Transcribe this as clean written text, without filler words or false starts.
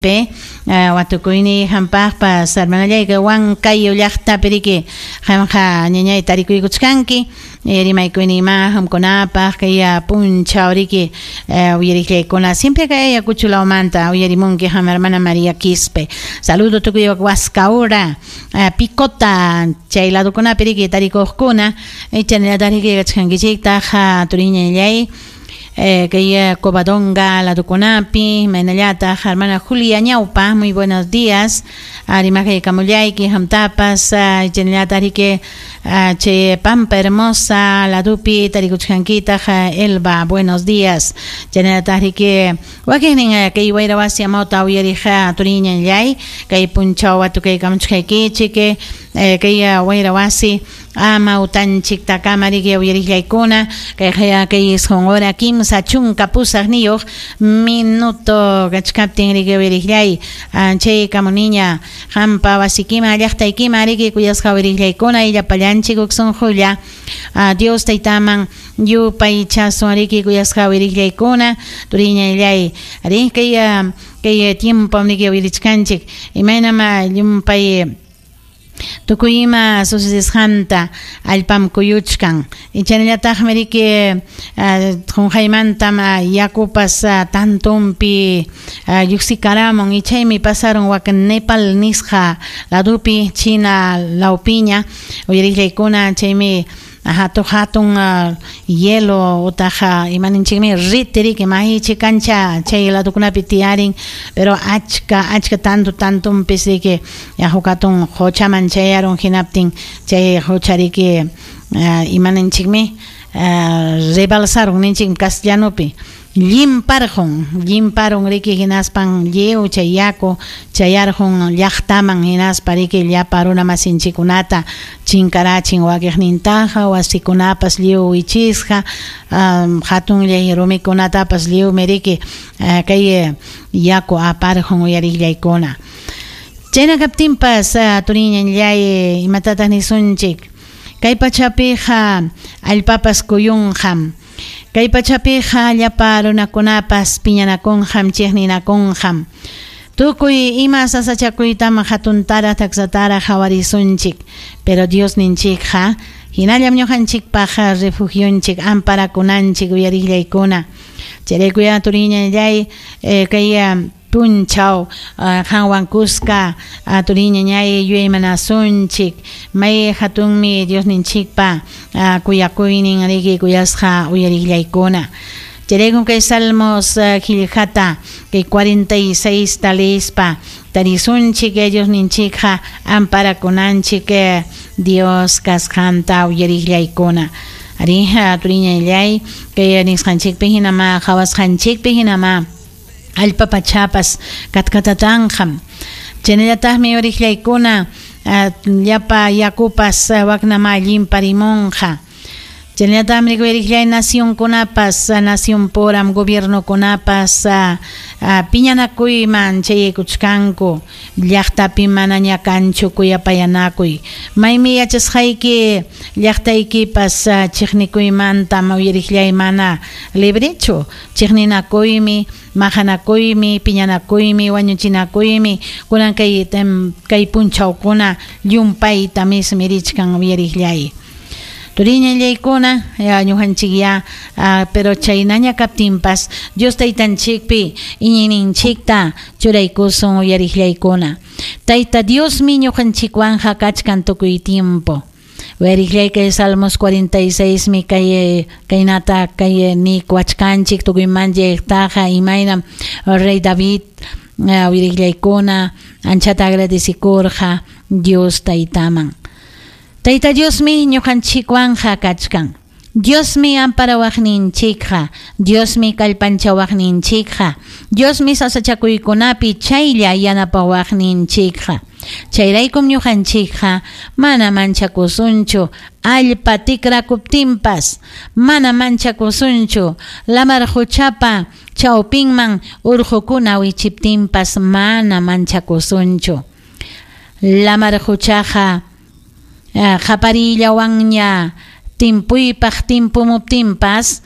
Watukuyniy hampaqpas hermanallayki Huancayo llaqtapi riki qamqa ñañay tarikuykuchkanki rimaykuyninman qamkunapaq kay punchaw riki uyariqllaykuna siempre kay Ayacucho lawmanta uyarimunki qam hermana María Quispe. Saludo tukuy Huascaura, Picota chay ladokunapi riki tarikuqkuna chaynallataq riki kachkankichiktaq turiñallay kay Covadonga ladokunapi, imaynallataq hermana Julia Ñaupa, muy buenos días, rimakaykamullayki qamtapas, chaynallataq riki chay Pampa Hermosa ladopi tarikuchkankitaq Elba, buenos días, chaynallataq riki wakinnin kay wayra wasi amawta uyariq turiñallay kay punchaw watukaykamuchkaykichik kay wayra wasi amawtanchiktakama riki uyariqllaykuna kay kay 9 hora 38 minuto kachkaptin riki uyariqllay chay kamuniña qampa wasikiman llaqtaykiman riki kuyasqa uyariqllaykuna llapallanchik huk sunqulla Dios taytaman yupaychasun riki kuyasqa uyariqllaykuna turiñallay rin kay kay tiempo riki uyarichkanchik imaynam llumpay tukuy ima sucedesqanta allpam kuyuchkan chaynallataqmi riki qunqaymantam yakupas tantumpi lluqsikaramun y chaymi pasaron wak Nepal nisqa ladopi China lawpiña uyariqllaykuna chaymi hatun hatun hielo utaq imaninchikmi riti riki mahichi kancha chay ladokunapi tiyarin pero achka achka tanto tantumpis riki huk hatun quchaman chayarun hinaptin chay qucha riki imaninchikmi rebalsarun ninchikmi castellanupi llimparqun llimparun riki hinaspan lliw chay yaku chayarqun llaqtaman hinaspa riki llapa runa masinchikkunata chinkarachin wakiqnintaqa wasikunapas lliw wichisqa hatunllay rumikunatapas lliwmi riki kay yaku aparqun uyariqllaykuna chayna kaptinpas turiñallay imatataq nisunchik kay pachapiqa allpapas kuyunqam kay pachapiqa llapa runakunapas piñanakunqam chiqninakunqam tukuy ima sasachakuytam hatuntaraq taksataraq qhawarisunchik pero Dios ninchikqa hinallam ñuqanchikpaq refugionchik amparakunanchik uyariqllaykuna chayraykuya turiñallay kay punchaw qanwan kuska turiñañay yuyaymanasunchik may hatunmi Dios ninchikpa kuyakuynin riki kuyasqa uyariqllaykuna chayraykun kay Salmos qillqata kay 46 ta leespa tarisunchik Dios ninchikqa amparakunanchik Dios kasqanta uyariqllaykuna ari turiñallay kay nisqanchikpi hinama qhawasqanchikpi hinama allpa pachapas katkatatanqam chaynallataqmi uyariqllaykuna llapa yakupas waknama llimparimunqa chaynallataqmi uyariqllay nacionkunapas nacionpuram gobiernokunapas piñanakuyman chayaykuchkanku llaqtapi manaña kanchu kuyapayanakuy maymi yachasqayki llaqtaykipas chiqnikuymantam uyariqllay mana librechu chiqninakuymi maqanakuymi piñanakuymi wañuchinakuymi kunan kay kay punchawkuna llumpayta mismi richkan uyariqllay turiñallaykuna ñuqanchik ya pero chaynaña kaptinpas Dios taytanchikpi iñiyninchikta churaykusun uyariqllaykuna Tayta Diosmi ñuqanchikwanqa kachkan tukuy tiempo uyariqllay kay Salmos 46 mi kay kaynata kay nikuachkanchik tukuymanchiktaqa imaynam rey David uyariqllaykuna anchata agradecikurqa Dios taytaman Tayta Diosmi ñuqanchikwanqa kachkan Diosmi amparawaqninchikqa Diosmi kallpanchawaqninchikqa Diosmi sasachakuykunapi chaylla yanapawaqninchikqa chayraykum ñuqanchikqa mana manchakusunchu allpa tikrakuptinpas mana manchakusunchu lamar quchapa chawpinman urqukuna wichiptinpas mana manchakusunchu lamar quchaqa qaparillawanña timpuypaq timpumuptinpas